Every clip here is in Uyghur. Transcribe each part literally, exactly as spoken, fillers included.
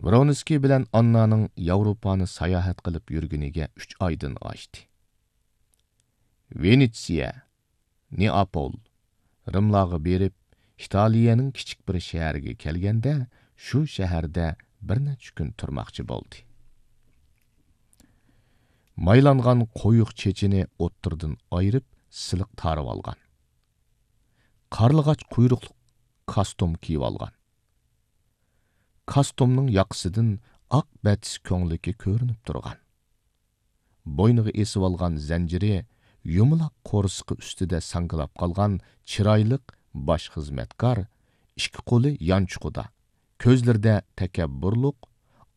ۋرونسكىي بىلەن ئاننانىڭ ياۋروپانى ساياھەت قىلىپ يۈرگىنىگە ئۈچ ئايدىن ئاشتى. ۋېنېتسىيە، نېئاپول، رىملارغا بېرىپ، ئىتالىيەنىڭ كىچىك بىر شەھىرىگە كەلگەندە، شۇ شەھەردە بىر نەچچە كۈن تۇرماقچى بولدى. مايلانغان قويۇق چېچىنى ئوتتۇرىدىن ئايرىپ، سىلىق تارىۋالغان. قارلىغاچ قۇيرۇقلۇق كاستۇم كىيىۋالغان. كاستۇمنىڭ ياقىسىدىن ئاق بەتىس كۆڭلىكى كۆرۈنۈپ تۇرغان. بوينىغا ئېسىۋالغان زەنجىرى يۇمىلاق قورسىقى ئۈستىدە ساڭگىلاپ قالغان چىرايلىق باش خىزمەتكار، ئىككى قولى يانچۇقىدا، كۆزلىرىدە تەكەببۇرلۇق،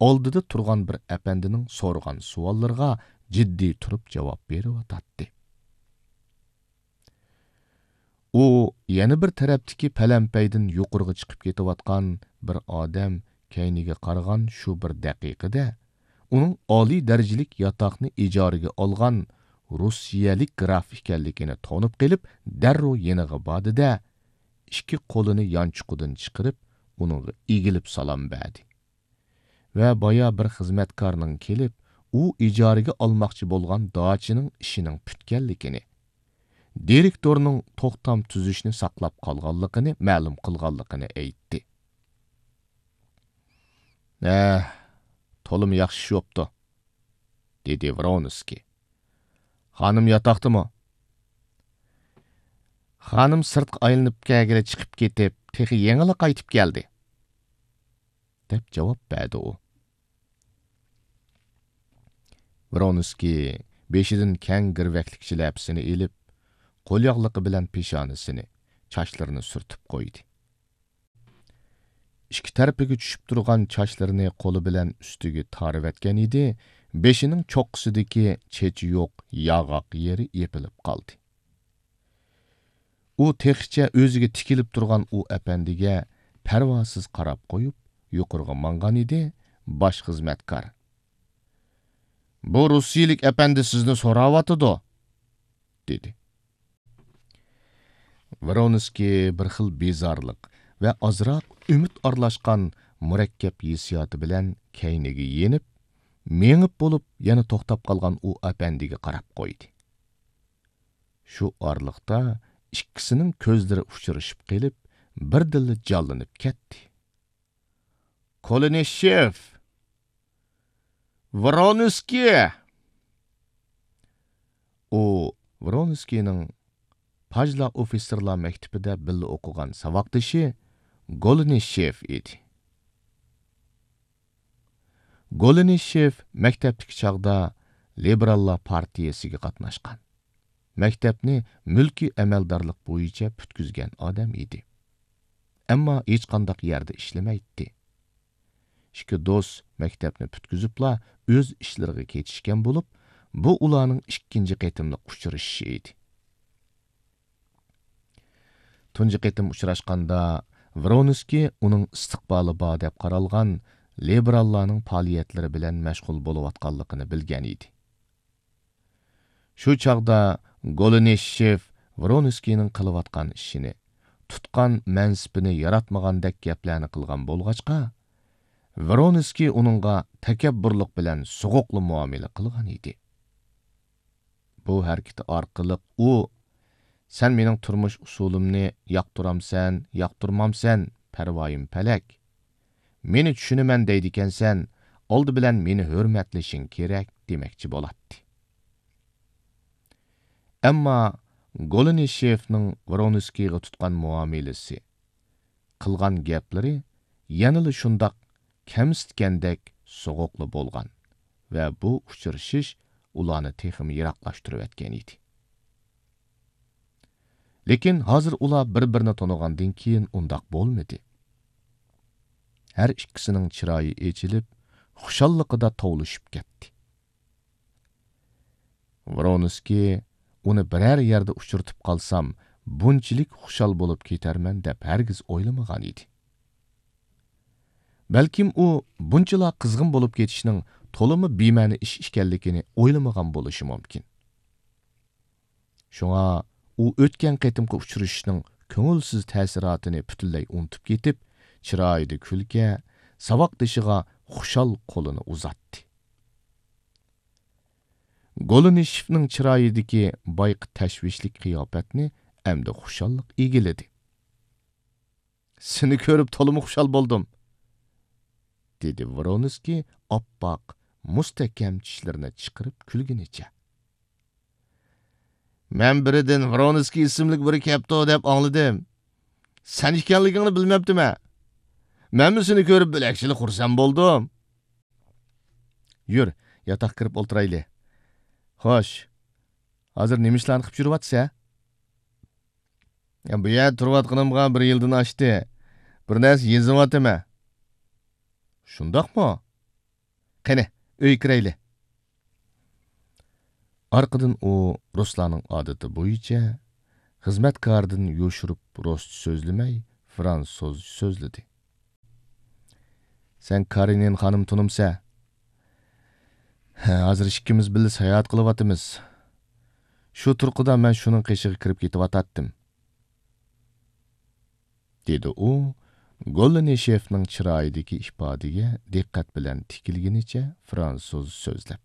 ئالدىدا تۇرغان بىر ئەپەندىنىڭ سورىغان سوئاللىرىغا جىددىي تۇرۇپ جاۋاب بېرىۋاتاتتى. ئۇ يەنە بىر تەرەپتىكى پەلەمپەيدىن يۇقىرىغا چىقىپ كېتىۋاتقان بىر ئادەم كەينىگە قارىغان شۇ بىر دەقىقىدە، ئۇنىڭ ئالىي دەرىجىلىك ياتاقنى ئىجارىگە ئالغان روسىيەلىك گراف ئىكەنلىكىنى تونۇپ قېلىپ، دەررۇ يېنىغا باردى-دە، ئىككى قولىنى يانچۇقىدىن چىقىرىپ، ئۇنىڭغا ئېگىلىپ سالام بەردى. ۋە بايا بىر خىزمەتكارنىڭ كېلىپ، ئۇ ئىجارىگە ئالماقچى بولغان داچىنىڭ ئىشىنىڭ پۈتكەنلىكىنى، دىرېكتورنىڭ توختام تۈزۈشنى ساقلاپ قالغانلىقىنى مەلۇم قىلغانلىقىنى ئېيتتى. «ھە، تولىمۇ ياخشى ئىش بوپتۇ»، دېدى ۋرونسكىي. «خانىم ياتاقتىمۇ؟» «خانىم سىرتقا ئايلىنىپ كەلگىلى چىقىپ كېتىپ، تېخى يېڭىلا قايتىپ كەلدى»، دەپ جاۋاب بەردى ئۇ. ۋرونسكىي بېشىدىن كەڭ گىرۋەكلىك شىلەپىسىنى ئېلىپ، قولياغلىقى بىلەن پېشانىسىنى، چاچلىرىنى سۈرتۈپ قويدى. ئىككى تەرىپىگە چۈشۈپ تۇرغان چاچلىرىنى قولى بىلەن ئۈستىگە تارىۋەتكەن ئىدى، بېشىنىڭ چوققىسىدىكى چېچى يوق ياغاق يېرى يېپىلىپ قالدى. ئۇ تېخىچە ئۆزىگە تىكىلىپ تۇرغان ئۇ ئەپەندىگە پەرۋاسىز قاراپ قويۇپ، يۇقىرىغا ماڭغان ئىدى، باش خىزمەتكار: «بۇ روسىيىلىك ئەپەندى سىزنى سوراۋاتىدۇ»، دېدى. ۋرونسكىي بىر خىل بىزارلىق ۋە ئازراق ئۈمىد ئارىلاشقان مۇرەككەپ ھېسسىياتى بىلەن كەينىگە يېنىپ، مېڭىپ بولۇپ يەنە توختاپ قالغان ئۇ ئەپەندىگە قاراپ قويدى. شۇ ئارىلىقتا ئىككىسىنىڭ كۆزلىرى ئۇچرىشىپ قېلىپ، بىردىنلا جانلىنىپ كەتتى. «كولىنىشېف! ۋرونسكىي!» ئۇ ۋرونسكىينىڭ پاژلا ئوفىتسېرلار مەكتىپىدە بىللە ئوقۇغان ساۋاقدىشى گولىنىشېف ئىدى. گولىنىشېف مەكتەپتىكى چاغدا لىبېراللار پارتىيەسىگە قاتناشقان، مەكتەپنى مۈلكىي ئەمەلدارلىق بويىچە پۈتكۈزگەن ئادەم ئىدى. ئەمما ھېچقانداق يەردە ئىشلىمەيتتى. ئىككى دوست مەكتەپنى پۈتكۈزۈپلا ئۆز ئىشلىرىغا كېتىشكەن بولۇپ، بۇ ئۇلارنىڭ ئىككىنچى قېتىملىق ئۇچرىشىشى ئىدى. تۇنجى قېتىم ئۇچراشقاندا، ۋرونسكىي ئۇنىڭ ئىستىقبالى بار دەپ قارالغان لىبېراللارنىڭ پائالىيەتلىرى بىلەن مەشغۇل بولۇۋاتقانلىقىنى بىلگەن ئىدى. شۇ چاغدا گولىنىشېف ۋرونسكىينىڭ قىلىۋاتقان ئىشىنى، تۇتقان مەنسىپىنى ياراتمىغاندەك گەپلەرنى قىلغان بولغاچقا، ۋرونسكىي ئۇنىڭغا تەكەببۇرلۇق بىلەن سوغۇقلا مۇئامىلە قىلغان ئىدى. بۇ ھەرىكىتى ئارقىلىق ئۇ، «سەن مېنىڭ تۇرمۇش ئۇسۇلۇمنى ياقتۇرامسەن، ياقتۇرمامسەن، پەرۋايىم پەلەك. مېنى چۈشىنىمەن دەيدىكەنسەن، ئالدى بىلەن مېنى ھۆرمەتلىشىڭ كېرەك» دېمەكچى بولاتتى. ئەمما گولىنىشېفنىڭ ۋرونسكىيغا تۇتقان مۇئامىلىسى، قىلغان گەپلىرى يەنىلا شۇنداق كەمسىتكەندەك سوغۇقلا بولغان ۋە بۇ ئۇچرىشىش ئۇلارنى تېخىمۇ يىراقلاشتۇرۇۋەتكەن ئىدى. لېكىن ھازىر ئۇلار بىر-بىرىنى تونۇغاندىن كېيىن ئۇنداق بولمىدى. ھەر ئىككىسىنىڭ چىرايى ئېچىلىپ، خۇشاللىقىدا توۋلىشىپ كەتتى. ۋرونسكىي ئۇنى بىرەر يەردە ئۇچرىتىپ قالسام، بۇنچىلىك خۇشال بولۇپ كېتەرمەن دەپ ھەرگىز ئويلىمىغان ئىدى. بەلكىم ئۇ بۇنچىلا قىزغىن بولۇپ كېتىشنىڭ تولىمۇ بىمەنە ئىش ئىكەنلىكىنى ئويلىمىغان بولۇشى مۇمكىن. شۇڭا ئۇ ئۆتكەن قېتىمقى ئۇچرىشىشنىڭ كۆڭۈلسىز تەسىراتىنى پۈتۈنلەي ئۇنتۇپ كېتىپ، چىرايىدا كۈلكە، ساۋاقدىشىغا خۇشال قولىنى ئۇزاتتى. گولۇنىشېفنىڭ چىرايىدىكى بايىقى تەشۋىشلىك قىياپەتنى ئەمدى خۇشاللىق ئىگىلىدى. «سېنى كۆرۈپ تولىمۇ خۇشال بولدۇم»، دېدى ۋرونسكىي ئاپئاق، مۇستەھكەم چىشلىرىنى چىقىرىپ كۈلگىنىچە. «مەن بىرىدىن ۋرونسكىي ئىسىملىك بىرى كەپتۇ دەپ ئاڭلىدىم. سەن ئىكەنلىكىڭنى بىلمەپتىمەن. مەنمۇ سېنى كۆرۈپ بۆلەكچىلا خۇرسەن بولدۇم.» «يۈر، ياتاققا كىرىپ ئولتۇرايلى. خوش، ھازىر نېمە ئىشلارنى قىلىپ يۈرۈۋاتىسەن؟ يا، بۇ يەردە تۇرۇۋاتقىنىمغا بىر يىلدىن ئاشتى. بىر نەرسە يېزىۋاتىمەن.» «شۇنداقمۇ؟ قېنى، ئۆيگە كىرەيلى.» ئارقىدىن ئۇ رۇسلارنىڭ ئادىتى بويىچە خىزمەتكارىدىن يوشۇرۇپ رۇسچە سۆزلىمەي، فرانسۇزچە سۆزلىدى. «سەن كارېنىن خانىم تونۇمسەن؟ ھە، ھازىر ئىككىمىز بىللە ساياھەت قىلىۋاتىمىز. شۇ تۇرقىدا مەن شۇنىڭ قېشىغا كىرىپ كېتىۋاتاتتىم.» دېدى ئۇ، گوللىنىشېفنىڭ چىرايىدىكى ئىپادىگە دىققەت بىلەن تىكىلگىنىچە فرانسۇز سۆزلەپ.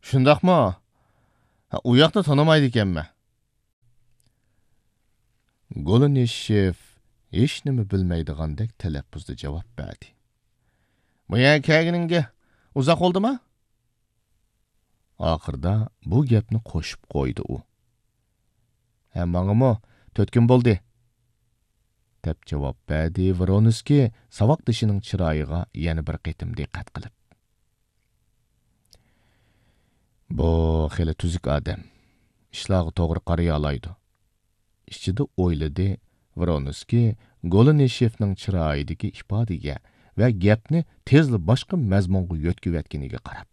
«شۇنداقمۇ؟ ھە، ئۇ ياقنى تونۇمايدىكەنمەن.» گولۇنىشېف ھېچنېمە بىلمەيدىغاندەك تەلەپپۇزدا جاۋاب بەردى. «بۇ يەرگە كەلگىنىڭگە ئۇزاق بولدىما؟» ئاخىرىدا بۇ گەپنى قوشۇپ قويدى ئۇ. «ھە، ماڭىمۇ تۆت كۈن بولدى.» دەپ جاۋاب بەردى ۋرونسكىي ساۋاقدىشىنىڭ چىرايىغا يەنە بىر قېتىم دىققەت قىلىپ. «بۇ خېلى تۈزۈك ئادەم. ئىشلارغا توغرا قارىيالايدۇ.» ئىچىدە ئويلىدى ۋرونسكىي گولۇنىشېفنىڭ چىرايىدىكى ئىپادىگە ۋە گەپنى تېزلا باشقا مەزمۇنغا يۆتكىۋەتكىنىگە قاراپ.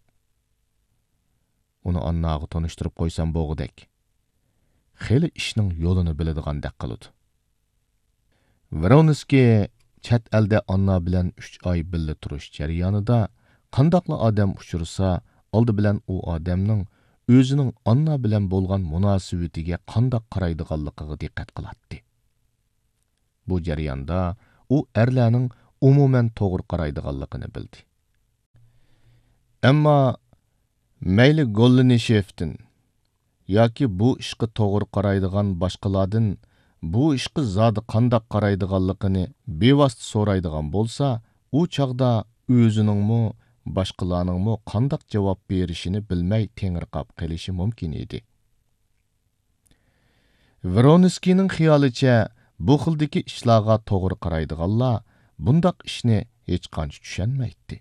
«ئۇنى ئانناغا تونۇشتۇرۇپ قويسام بولغۇدەك. خېلى ئىشنىڭ يولىنى بىلىدىغاندەك قىلىدۇ.» ۋرونسكىي چەت ئەلدە ئاننا بىلەن ئۈچ ئاي بىللە تۇرۇش جەريانىدا قانداقلا ئادەم ئۇچرىسا، ئالدى بىلەن ئۇ ئادەمنىڭ ئۆزىنىڭ ئاننا بىلەن بولغان مۇناسىۋىتىگە قانداق قارايدىغانلىقىغا دىققەت قىلاتتى. بۇ جەرياندا ئۇ ئەرلەرنىڭ ئومۇمەن توغرا قارايدىغانلىقىنى بىلدى. ئەمما مەيلى گوللىنىشېفتىن ياكى بۇ ئىشقا توغرا قارايدىغان باشقىلاردىن بۇ ئىشقا زادى قانداق قارايدىغانلىقىنى بىۋاسىتە سورايدىغان بولسا، ئۇ چاغدا ئۆزىنىڭمۇ، باشقىلارنىڭمۇ قانداق جاۋاب بېرىشىنى بىلمەي تېڭىرقاپ قېلىشى مۇمكىن ئىدى. ۋرونسكىينىڭ خىيالىچە، بۇ خىلدىكى ئىشلارغا توغرا قارايدىغانلار بۇنداق ئىشنى ھېچقانچە چۈشەنمەيتتى.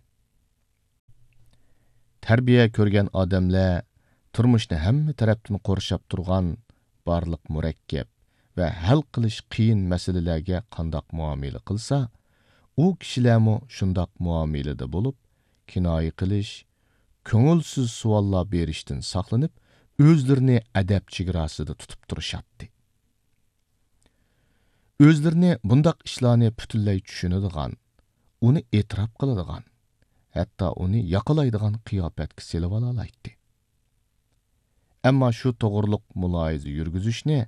تەربىيە كۆرگەن ئادەملەر تۇرمۇشنى ھەممە تەرەپتىن قورشاپ تۇرغان بارلىق مۇرەككەپ ۋە ھەل قىلىش قىيىن مەسىلىلەرگە قانداق مۇئامىلە قىلسا، ئۇ كىشىلەرمۇ شۇنداق مۇئامىلىدە بولۇپ، كىنايە قىلىش، كۆڭۈلسىز سوئاللار بېرىشتىن ساقلىنىپ، ئۆزلىرىنى ئەدەپ چېگراسىدا تۇتۇپ تۇرۇشاتتى. ئۆزلىرىنى بۇنداق ئىشلارنى پۈتۈنلەي چۈشىنىدىغان، ئۇنى ئېتىراپ قىلىدىغان، ھەتتا ئۇنى ياقىلايدىغان قىياپەتكە سېلىۋالالايتتى. ئەمما شۇ توغرۇلۇق مۇلاھىزە يۈرگۈزۈشنى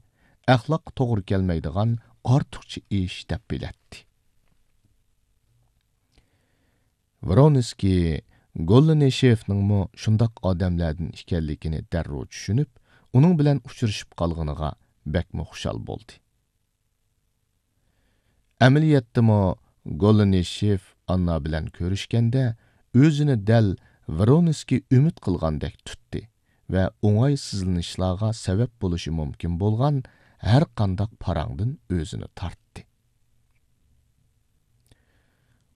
ئەخلاققا توغرا كەلمەيدىغان ئارتۇقچە ئىش دەپ بىلەتتى. ۋرونسكىي گوللىنىشېفنىڭمۇ شۇنداق ئادەملەردىن ئىكەنلىكىنى دەررۇ چۈشىنىپ، ئۇنىڭ بىلەن ئۇچرىشىپ قالغىنىغا بەكمۇ خۇشال بولدى. ئەمەلىيەتتىمۇ گوللىنىشېف ئاننا بىلەن كۆرۈشكەندە، ئۆزىنى دەل ۋرونسكىي ئۈمىد قىلغاندەك تۇتتى ۋە ئوڭايسىزلىنىشلارغا سەۋەب بولۇشى مۇمكىن بولغان ھەرقانداق پاراڭدىن ئۆزىنى تارتتى.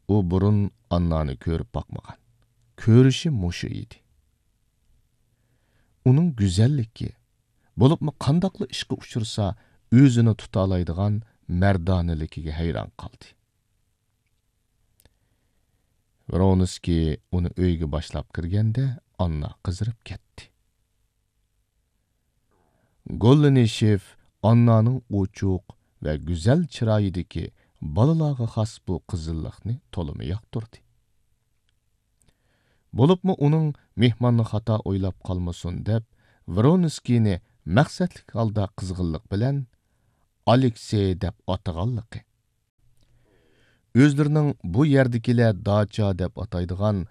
ئۇ بۇرۇن ئاننانى كۆرۈپ باقمىغان. كۆرۈشى مۇشۇ ئىدى. ئۇنىڭ گۈزەللىكى، بولۇپمۇ قانداقلا ئىشقا ئۇچرىسا ئۆزىنى تۇتالايدىغان مەردانىلىكىگە ھەيران قالدى. ۋرونسكىي ئۇنى ئۆيگە باشلاپ كىرگەندە، ئاننا قىزىرىپ كەتتى. گوللىنىشېف ئاننانىڭ ئوچۇق ۋە گۈزەل چىرايىدىكى بالىلارغا خاس بۇ قىزىللىقنى تولىمۇ ياقتۇردى. بولۇپمۇ ئۇنىڭ مېھماننى خاتا ئويلاپ قالمىسۇن دەپ، ۋرونسكىينى مەقسەتلىك ھالدا قىزغىنلىق بىلەن ئالېكسېي دەپ ئاتىغانلىقى، ئۆزلىرىنىڭ بۇ يەردىكىلەر داچا دەپ ئاتايدىغان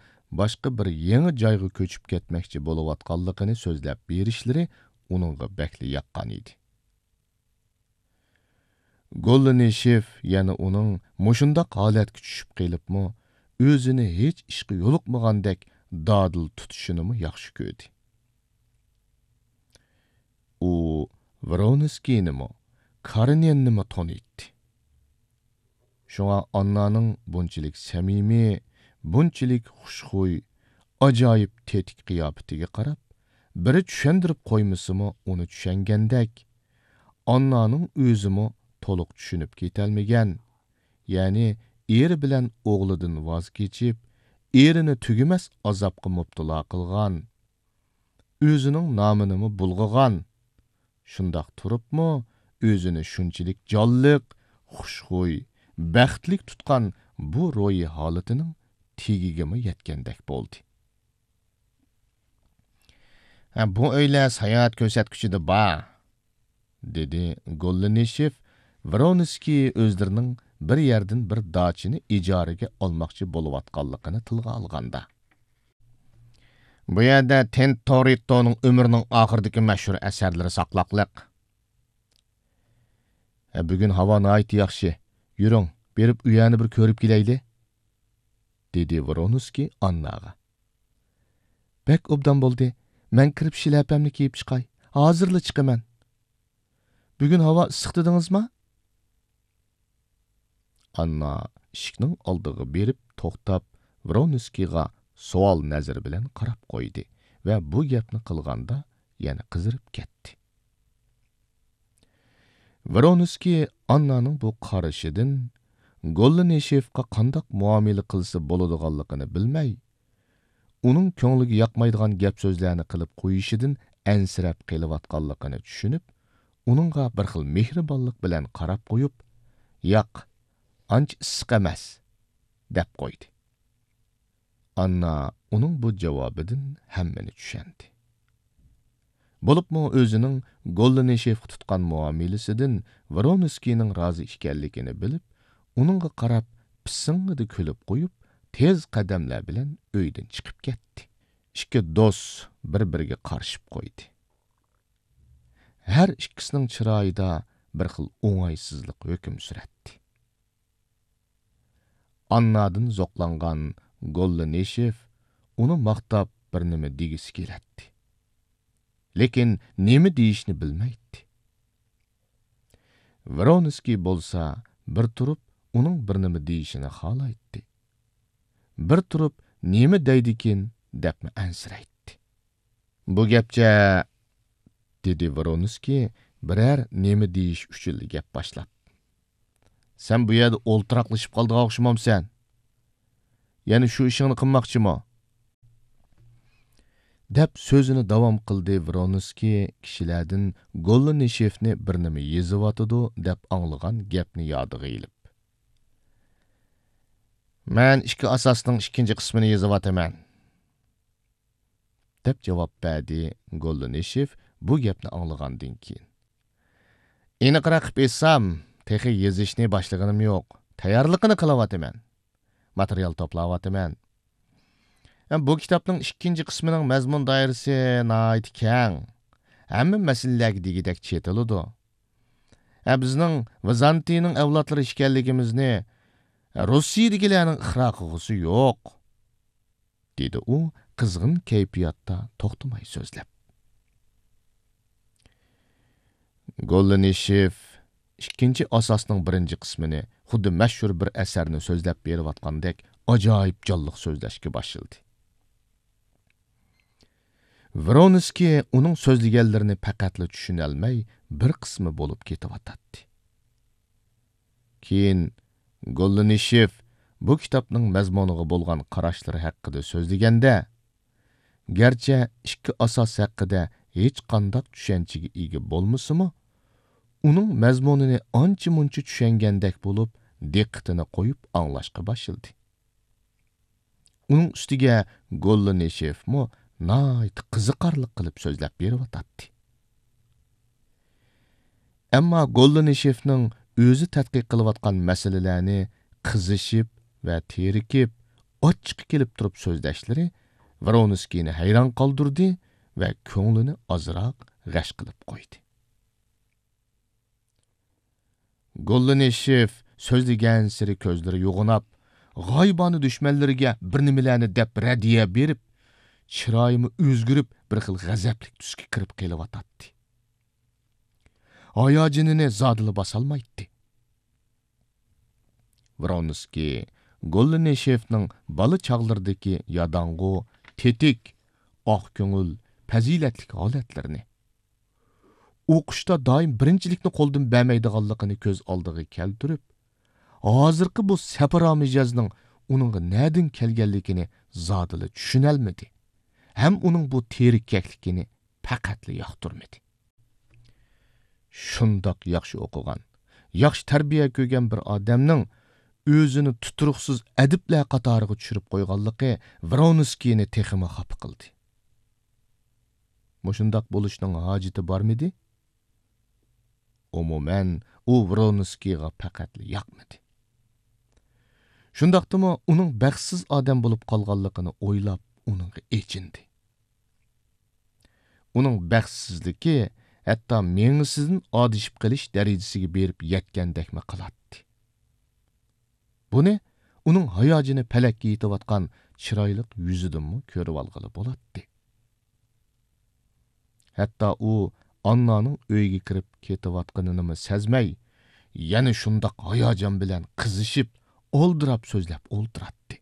باشقا بىر يېڭى جايغا كۆچۈپ كەتمەكچى بولۇۋاتقانلىقىنى سۆزلەپ بېرىشلىرى ئۇنىڭغا بەكلا ياققان ئىدى. گوللىنىشېف يەنە ئۇنىڭ مۇشۇنداق ھالەتكە چۈشۈپ قېلىپمۇ، ئۆزىنى ھېچ ئىشقا يولۇقمىغاندەك دادىل تۇتۇشىنىمۇ ياخشى كۆردى. ئۇ ۋرونسكىينىمۇ، كارېنىننىمۇ تونۇيتتى. شۇڭا ئاننانىڭ بۇنچىلىك سەمىمىي، بۇنچىلىك خۇشخۇي، ئاجايىپ تېتىك قىياپىتىگە قاراپ، بىرى چۈشەندۈرۈپ قويمىسىمۇ ئۇنى چۈشەنگەندەك، ئاننانىڭ ئۆزىمۇ تولۇق چۈشىنىپ كېتەلمىگەن، يەنى ئېرى بىلەن ئوغلىدىن ۋاز كېچىپ، ئېرىنى تۈگىمەس ئازابقا مۇپتىلا قىلغان، ئۆزىنىڭ نامىنىمۇ بۇلغىغان، شۇنداق تۇرۇپمۇ ئۆزىنى شۇنچىلىك جانلىق، خۇشخۇي، بەختلىك تۇتقان بۇ روھىي ھالىتىنىڭ تېگىگىمۇ يەتكەندەك بولدى. ھە، بۇ ئۆيلەر ساياھەت كۆرسەتكۈچىدە بار، دېدى گوللىنىشېف ۋرونسكىي ئۆزلىرىنىڭ بىر يەردىن بىر داچىنى ئىجارىگە ئالماقچى بولۇۋاتقانلىقىنى تىلغا ئالغاندا. بۇ يەردە تېنتورېتتونىڭ ئۆمرىنىڭ ئاخىرىدىكى مەشھۇر ئەسەرلىرى ساقلاقلىق. ھە، بۈگۈن ھاۋا ناھايىتى ياخشى. يۈرۈڭ، بېرىپ ئۇ يەرنى بىر كۆرۈپ كېلەيلى، دېدى ۋرونسكىي ئانناغا. بەك ئوبدان بولدى. مەن كىرىپ شىلەپەمنى كىيىپ چىقاي. ھازىرلا چىقىمەن. بۈگۈن ھاۋا ئىسسىق دېدىڭىزما؟ ئاننا ئىشىكنىڭ ئالدىغا بېرىپ توختاپ، ۋرونسكىيغا سوئال نەزىرى بىلەن قاراپ قويدى ۋە بۇ گەپنى قىلغاندا يەنە قىزىرىپ كەتتى. ۋرونسكىي ئاننانىڭ بۇ قارىشىدىن گوللىنىشېفقا قانداق مۇئامىلە قىلسا بولىدىغانلىقىنى بىلمەي، ئۇنىڭ كۆڭلىگە ياقمايدىغان گەپ-سۆزلەرنى قىلىپ قويۇشىدىن ئەنسىرەپ قېلىۋاتقانلىقىنى چۈشىنىپ، ئۇنىڭغا بىر خىل مېھرىبانلىق بىلەن قاراپ قويۇپ، «ياق، ئانچە ئىسسىق ئەمەس» دەپ قويدى. ئاننا ئۇنىڭ بۇ جاۋابىدىن ھەممىنى چۈشەندى. بولۇپمۇ ئۆزىنىڭ گوللىنىشېفقا تۇتقان مۇئامىلىسىدىن ۋرونسكىينىڭ رازى ئىكەنلىكىنى بىلىپ، ئۇنىڭغا قاراپ پىسسىڭىدە كۈلۈپ قويۇپ، تېز قەدەملەر بىلەن ئۆيدىن چىقىپ كەتتى. ئىككى دوست بىر-بىرىگە قارىشىپ قويدى. ھەر ئىككىسىنىڭ چىرايىدا بىر خىل ئوڭايسىزلىق ھۆكۈم سۈرەتتى. ئاننادىن زوقلانغان گوللىنىشېف ئۇنى ماختاپ بىر نېمە دېگۈسى كېلەتتى. لېكىن نېمە دېيىشنى بىلمەيتتى. ۋرونسكىي بولسا بىر تۇرۇپ ئۇنىڭ بىر نېمە دېيىشىنى خالايتتى. بىر تۇرۇپ نېمە دەيدىكىن دەپمۇ ئەنسىرەيتتى. «بۇ گەپچە» دېدى ۋرونسكىي بىرەر نېمە دېيىش ئۈچۈنلا گەپ باشلاپ. «سەن بۇ يەردە ئولتۇراقلىشىپ قالىدىغان ئوخشىمامسەن؟ يەنە شۇ ئىشىڭنى قىلماقچىمۇ؟» دەپ سۆزىنى داۋام قىلدى ۋرونسكىي كىشىلەردىن گوللىنىشېفنى بىر نېمە يېزىۋاتىدۇ دەپ ئاڭلىغان گەپنى يادىغا ئېلىپ. «مەن ئىككى ئاساسنىڭ ئىككىنچى قىسمىنى يېزىۋاتىمەن.» دەپ جاۋاب بەردى گوللىنىشېف بۇ گەپنى ئاڭلىغاندىن كېيىن. «ئېنىقراق قىلىپ ئېيتسام، تېخى يېزىشنى باشلىغىنىم يوق. تەييارلىقىنى قىلىۋاتىمەن. ماتېرىيال توپلاۋاتىمەن. ھەم بۇ كىتابنىڭ ئىككىنچى قىسمىنىڭ مەزمۇن دائىرىسى ناھايىتى كەڭ. ھەممە مەسىلىلەرگە دېگۈدەك چېتىلىدۇ. ھە، بىزنىڭ ۋىزانتىينىڭ ئەۋلادلىرى ئىكەنلىكىمىزنى روسىيىدىكىلەرنىڭ ئىقرار قىلغۇسى يوق.» دېدى ئۇ قىزغىن كەيپىياتتا توختىماي سۆزلەپ. گوللىنىشېف ئىككىنچى ئاساسنىڭ بىرىنچى قىسمىنى خۇددى مەشھۇر بىر ئەسەرنى سۆزلەپ بېرىۋاتقاندەك ئاجايىپ جانلىق سۆزلەشكە باشلىدى. ۋرونسكىي ئۇنىڭ سۆزلىگەنلىرىنى پەقەتلا چۈشىنەلمەي، بىر قىسمى بولۇپ كېتىۋاتاتتى. كېيىن گوللىنىشېف بۇ كىتابنىڭ مەزمۇنىغا بولغان قاراشلىرى ھەققىدە سۆزلىگەندە، گەرچە ئىككى ئاساس ھەققىدە ھېچقانداق چۈشەنچىگە ئىگە بولمىسىمۇ، ئۇنىڭ مەزمۇنىنى ئانچە-مۇنچە چۈشەنگەندەك بولۇپ، دىققىتىنى قويۇپ ئاڭلاشقا باشلىدى. ئۇنىڭ ئۈستىگە گوللىنىشېفمۇ ناھايىتى قىزىقارلىق قىلىپ سۆزلەپ بېرىۋاتاتتى. ئەمما گوللىنىشېفنىڭ ئۆزى تەتقىق قىلىۋاتقان مەسىلىلەرنى قىزىشىپ ۋە تېرىكىپ، ئاچچىقى كېلىپ تۇرۇپ سۆزلەشلىرى ۋرونسكىينى ھەيران قالدۇردى ۋە كۆڭلىنى ئازراق غەش قىلىپ قويدى. گوللىنىشېف سۆزلىگەنسېرى كۆزلىرى يوغىناپ، غايىبانە دۈشمەنلىرىگە بىر نېمىلەرنى دەپ رەددىيە بېرىپ، چىرايىمۇ ئۆزگىرىپ، بىر خىل غەزەپلىك تۈسكە كىرىپ قېلىۋاتاتتى. ھاياجىنىنى زادىلا باسالمايتتى. ۋرونسكىي گوللىنىشېفنىڭ بالا چاغلىرىدىكى ياداڭغۇ، تېتىك، ئاق كۆڭۈل، پەزىلەتلىك ھالەتلىرىنى، ئوقۇشتا دائىم بىرىنچىلىكنى قولدىن بەرمەيدىغانلىقىنى كۆز ئالدىغا كەلتۈرۈپ، ھازىرقى بۇ سەپرا مىجەزنىڭ ئۇنىڭغا نەدىن كەلگەنلىكىنى زادىلا چۈشىنەلمىدى ھەم ئۇنىڭ بۇ تېرىككەكلىكىنى پەقەتلا ياقتۇرمىدى. شۇنداق ياخشى ئوقۇغان، ياخشى تەربىيە كۆرگەن بىر ئادەمنىڭ ئۆزىنى تۇتۇرۇقسىز ئەدىبلەر قاتارىغا چۈشۈرۈپ قويغانلىقى ۋرونسكىينى تېخىمۇ خاپا قىلدى. مۇشۇنداق بولۇشنىڭ ھاجىتى بارمىدى؟ ئومۇمەن، ئۇ ۋرونسكىيغا پەقەتلا ياقمىدى. شۇنداقتىمۇ ئۇنىڭ بەختسىز ئادەم بولۇپ قالغانلىقىنى ئويلاپ، ئۇنىڭغا ئېچىندى. ئۇنىڭ بەختسىزلىكى ھەتتا مېڭىسىدىن ئادىشىپ قېلىش دەرىجىسىگە بېرىپ يەتكەندەكمۇ قىلاتتى. بۇنى ئۇنىڭ ھاياجىنى پەلەككە يېتىۋاتقان چىرايلىق يۈزىدىنمۇ كۆرۈۋالغىلى بولاتتى. ھەتتا ئۇ ئاننانىڭ ئۆيگە كىرىپ كېتىۋاتقىنىنىمۇ سەزمەي، يەنە شۇنداق ھاياجان بىلەن قىزىشىپ، ئالدىراپ سۆزلەپ ئولتۇراتتى.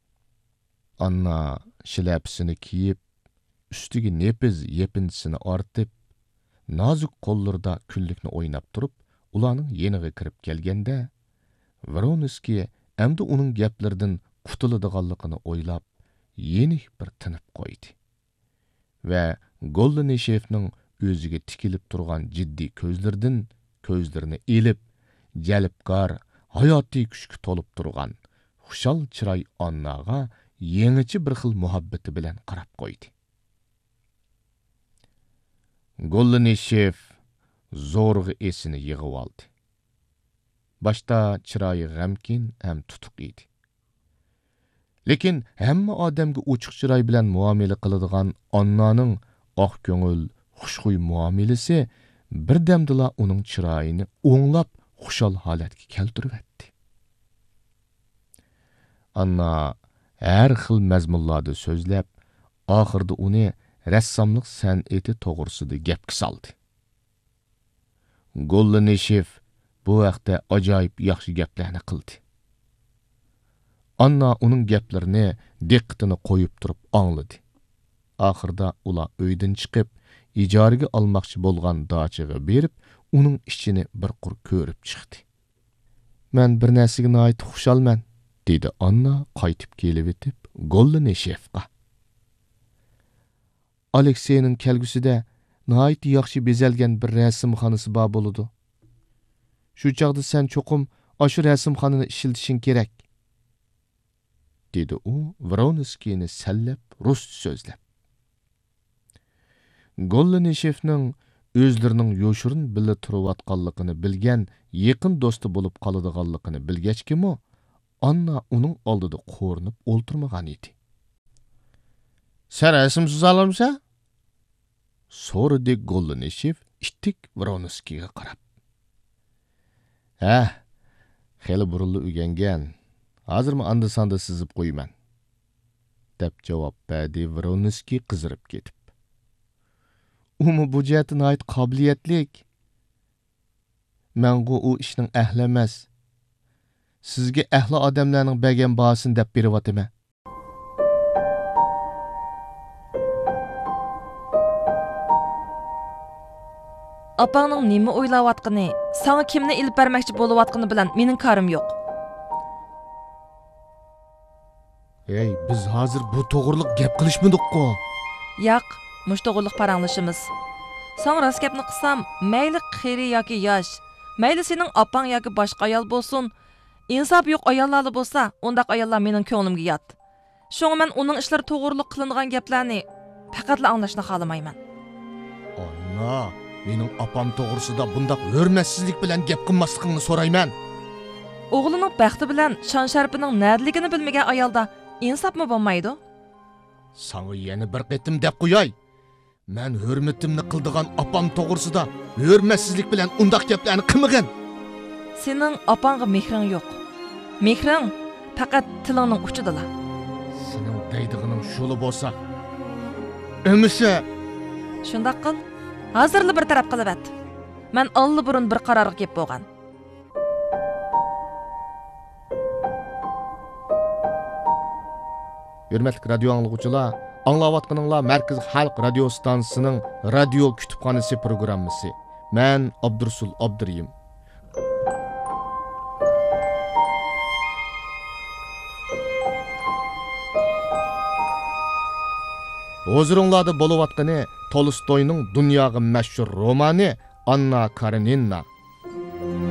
ئاننا شىلەپىسىنى كىيىپ، ئۈستىگە نېپىز يېپىنچىسىنى ئارتىپ، نازۇك قوللىرىدا كۈنلۈكنى ئويناپ تۇرۇپ، ئۇلارنىڭ يېنىغا كىرىپ كەلگەندە، ۋرونسكىي ئەمدى ئۇنىڭ گەپلىرىدىن قۇتۇلىدىغانلىقىنى ئويلاپ، يېنىك بىر تىنىپ قويدى ۋە گوللىنىشېفنىڭ ئۆزىگە تىكىلىپ تۇرغان جىددىي كۆزلىرىدىن كۆزلىرىنى ئېلىپ، جەلپكار، ھاياتىي كۈچكە تولۇپ تۇرغان خۇشال چىراي ئانناغا يېڭىچە بىر خىل مۇھەببىتى بىلەن قاراپ قويدى. گوللىنىشېف زورىغا ئېسىنى يىغىۋالدى. باشتا چىرايى غەمكىن ھەم تۇتۇق ئىدى. لېكىن ھەممە ئادەمگە ئوچۇق چىراي بىلەن مۇئامىلە قىلىدىغان ئاننانىڭ ئاق كۆڭۈل، خۇشخۇي مۇئامىلىسى بىردەمدىلا ئۇنىڭ چىرايىنى ئوڭلاپ، خۇشال ھالەتكە كەلتۈرۈۋەتتى. ئاننا ھەر خىل مەزمۇنلاردا سۆزلەپ، ئاخىرىدا ئۇنى رەسساملىق سەنئىتى توغرىسىدا گەپكە سالدى. گوللىنىشېف بۇ ھەقتە ئاجايىپ ياخشى گەپلەرنى قىلدى. ئاننا ئۇنىڭ گەپلىرىنى دىققىتىنى قويۇپ تۇرۇپ ئاڭلىدى. ئاخىرىدا ئۇلار ئۆيدىن چىقىپ، ئىجارىگە ئالماقچى بولغان داچىغا بېرىپ، ئۇنىڭ ئىچىنى بىر قۇر كۆرۈپ چىقتى. «مەن بىر نەرسىگە ناھايىتى خۇشالمەن»، دېدى ئاننا قايتىپ كېلىۋېتىپ گوللىنىشېفقا. «ئالېكسېينىڭ كەلگۈسىدە ناھايىتى ياخشى بېزەلگەن بىر رەسىمخانىسى بار بولىدۇ. شۇ چاغدا سەن چوقۇم ئاشۇ رەسىمخانىنى ئىشلىتىشىڭ كېرەك»، دېدى ئۇ ۋرونسكىينى سەنلەپ، رۇسچە سۆزلەپ. گوللىنىشېفنىڭ ئۆزلىرىنىڭ يوشۇرۇن بىللە تۇرۇۋاتقانلىقىنى بىلگەن يېقىن دوستى بولۇپ قالىدىغانلىقىنى بىلگەچكىمۇ، ئاننا ئۇنىڭ ئالدىدا قورۇنۇپ ئولتۇرمىغان ئىدى. «سەن رەسىم سىزالامسەن؟» سورىدى گوللىنىشېف ئىتتىك ۋرونسكىيغا قاراپ. «ھە، خېلى بۇرۇنلا ئۆگەنگەن. ھازىرمۇ ئاندا-ساندا سىزىپ قويىمەن»، دەپ جاۋاب بەردى ۋرونسكىي قىزىرىپ كېتىپ. «ئۇمۇ بۇ جەھەتتە ناھايىتى قابىلىيەتلىك. مەنغۇ ئۇ ئىشنىڭ ئەھلى ئەمەس. سىزگە ئەھلى ئادەملەرنىڭ بەرگەن باھاسىنى دەپ بېرىۋاتىمەن.» ئاپاڭنىڭ نېمە ئويلاۋاتقىنى، ساڭا كىمنى ئېلىپ بەرمەكچى بولۇۋاتقىنى بىلەن مېنىڭ كارىم يوق. ھەي، بىز ھازىر بۇ توغرىلىق گەپ قىلىشمىدۇققۇ؟ ياق، مۇشۇ توغرىلىق پاراڭلىشىمىز. ساڭا راست گەپنى قىلسام، مەيلى قېرى ياكى ياش، مەيلى سېنىڭ ئاپاڭ ياكى باشقا ئايال بولسۇن، ئىنسابى يوق ئاياللارلا بولسا، ئۇنداق ئاياللار مېنىڭ كۆڭلۈمگە يات. شۇڭا مەن ئۇنىڭ ئىشلىرى توغرۇلۇق قىلىنغان گەپلەرنى پەقەتلا ئاڭلاشنى خالىمايمەن. ئاننا، مېنىڭ ئاپام توغرىسىدا بۇنداق ھۆرمەتسىزلىك بىلەن گەپ قىلماسلىقىڭنى سورايمەن. ئوغلىنىڭ بەختى بىلەن شان-شەرىپىنىڭ نەدىلىكىنى بىلمىگەن ئايالدا ئىنساپمۇ بولمايدۇ. ساڭا يەنە بىر قېتىم دەپ قوياي. مەن ھۆرمىتىمنى قىلىدىغان ئاپام توغرىسىدا ھۆرمەتسىزلىك بىلەن ئۇنداق گەپلەرنى قىلمىغىن. سېنىڭ ئاپاڭغا مېھرىڭ يوق. مېھرىڭ پەقەت تىلىڭنىڭ ئۇچىدىلا. سېنىڭ دەيدىغىنىڭ شۇلا بولسا، ئەمىسە. شۇنداق قىل. ھازىرلا بىر تەرەپ قىلىۋەت. مەن ئاللىبۇرۇن بىر قارارغا كېلىپ بولغان. ھۆرمەتلىك رادىيو ئاڭلىغۇچىلار، ئاڭلاۋاتقىنىڭلار مەركىزىي خەلق رادىيو ئىستانسىسىنىڭ رادىيو كۇتۇپخانىسى پروگراممىسى. مەن ئابدۇرۇسۇل ئابدۇرېھىم. ھۇزۇرۇڭلاردا بولۇۋاتقىنى تولستوينىڭ دۇنياغا مەشھۇر رومانى ئاننا كارېنىنا.